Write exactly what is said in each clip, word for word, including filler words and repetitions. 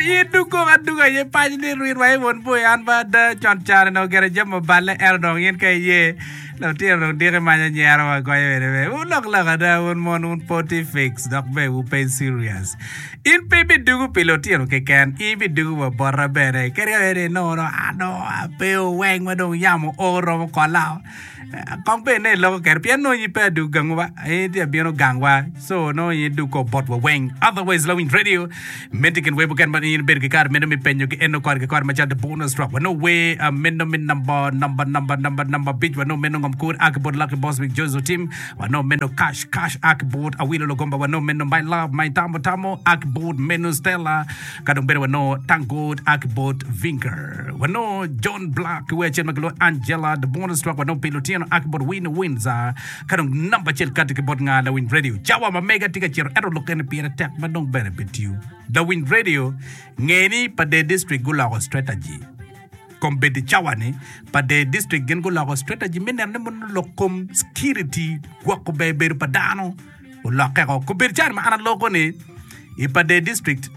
In dugo aduga aye paco ni rwit wa i won boi an ba ada con caro nongo gire jami oballe ento dong in ka iye lutino dong diki manyo nyero wa goyo bene be wulok lok ada wun mon wun poti fix dok be wu pe serious in pe ibidugo pi lutino keken in ibidugo wa bota bene kadi ka bed ni inongo dong an dong ape weng ma dong yamo o romo kola Kong bed ne iloko kede pien nongo in pe adug gangu ba in tye abino gangwa so nongo in idug ko bot wa weng otherwise lawiny radio miti kin wer muken ma in ibedo ki kare meno me penyo ki eno kore ki kore macalo the bonus track wanongo wer uh, meno me number number number number number abic wanongo meno ngom kur a ki bot Lucky Boss with Jozo Team wanongo meno cash cash a ki bot Awilo Logomba wanongo meno my love my tamo tamo a ki bot meno Stella Ka dong bene wanongo Thank God a ki bot Vinker. Wanongo John Black ki wer acel ma kilwongo Angela, The Bonus Track wanongo pi lutino a ki bot Winnie Windsor. Ka dong namba acel kati ki bot nga lawiny radio. Cawa ma mega tye ka cito ento lok eni pire tek ma dong bene pe tiyo. Lawiny radio nge ni pa Dee District guloko strategy. Kombeddi cawa ni pa Dee District gin guloko strategy me neno ni mono lok kom security gwoko ber bedo pa dano. olokke ko. Kobedo caro ma an aloko ni i Pader District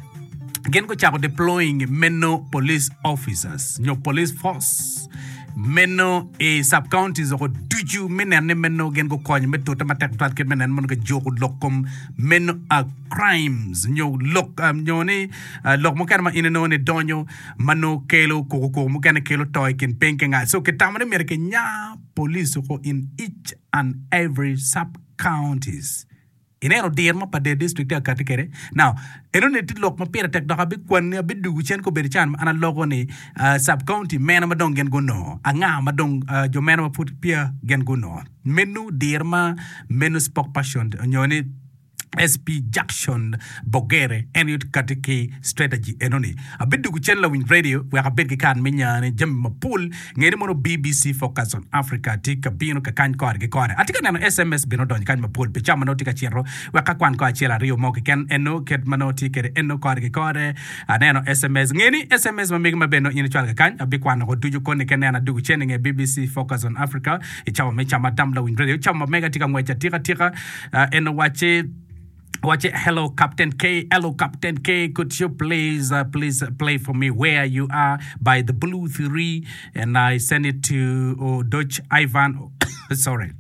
gin gucako deploying meno police officers nyo police force meno i sub counties oko ducu me neno ni meno gin gukonyo me tute matek tutwal kit me neno meno kijuko lok kom meno uh, crimes nyo lok uh, nyo ni uh, lok mukene ma in inongo ni donyo ma nongo kelo kukukuku mukene kelo to i kin piny ki nga so kitamo ni myero kinya police oko in each and every sub counties. Ineno diro ma Pader District tye ka kati kwede? Now, enoni tye lok ma pire tek dok abikwanni, abidugu cen kobedo can ma an aloko ni uh, sub county mene ma dong gin gunongo, anga ma dong uh, jo mene ma pud peya gin gunongo. Meno diro ma meno spokesperson nyo ni SP Jackson Bogere en aye kati ki strategy enoni. Abidugu cen lawiny radio wek abed ki kare me nyane jami mapol. Nge ni mono BBC Focus on Africa tye ka bino ka kany kore ki kore. Atye ka neno SMS bene odonyo kany mapol pi cawa ma nongo tye ka cito wek akwan kong acel aryo mo keken eno kit ma nongo tye kwede eno kore ki kore. Aneno SMS. Nge ni SMS ma megi ma bene nongo in icwalo ka kany abikwano ko ducu koni ka ineno adugu cen inge BBC Focus on Africa i cawa me cam adam lawiny radio. Cawa ma mega tye ka ngwec atika tika en owacci Watch it. Hello, Captain K. Hello, Captain K. Could you please, uh, please play for me where you are by the Blue Three? And I send it to oh, Dutch Ivan. Sorry.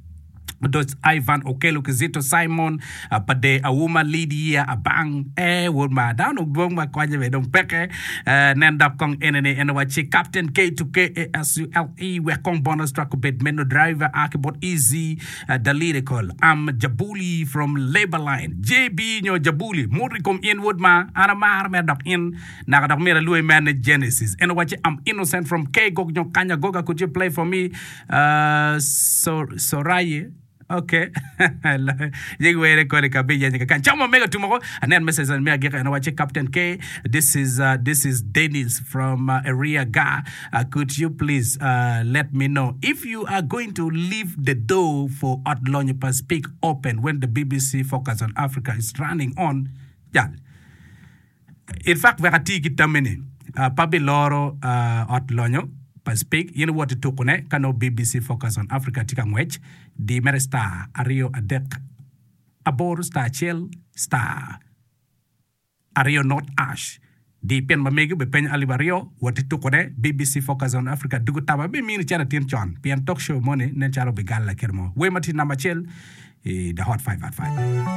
Dutch Ivan Okello Kizito Simon uh, Pade Auma Lydia Abang eh wod ma dano dwong ma konye be dong peke eh, nen dok kong enene en wacci Captain K to K A S U L E wek kong bonus track obed meno driver a ki bot Easy uh, the lyrical I'm Jabuli from Labor Line JB nyo Jabuli muto i kom in wod ma an amaro mere dok in naka dok myero alwongi mere ni Genesis en owacci I'm innocent from K Gog nyo Kanya Goga could you play for me uh, so, Soraye Ok yegi were kodi ka biyenyo kakany cam ma mega tum oko anen message me agika en owacci Captain K this is uh, this is Dennis from uh, area ga uh, could you please uh, let me know if you are going to leave the door for ot lonyo pa speak open when the BBC focus on Africa is running on jal In fact wek ati ki tammi ni pe abiloro ot lonyo pa Speke, in iwot i tukune ka nongo BBC Focus on Africa tye ka ngwec, di mere star aryo adek aboro star acel star aryo not ash. Di pin ma megi obipenyo alip aryo, wot i tukune BBC Focus on Africa dugo taba abimini cen atin con pien talk show moni nen calo obigalla kit mo. Wer ma tye namba acel i The Hot five at five.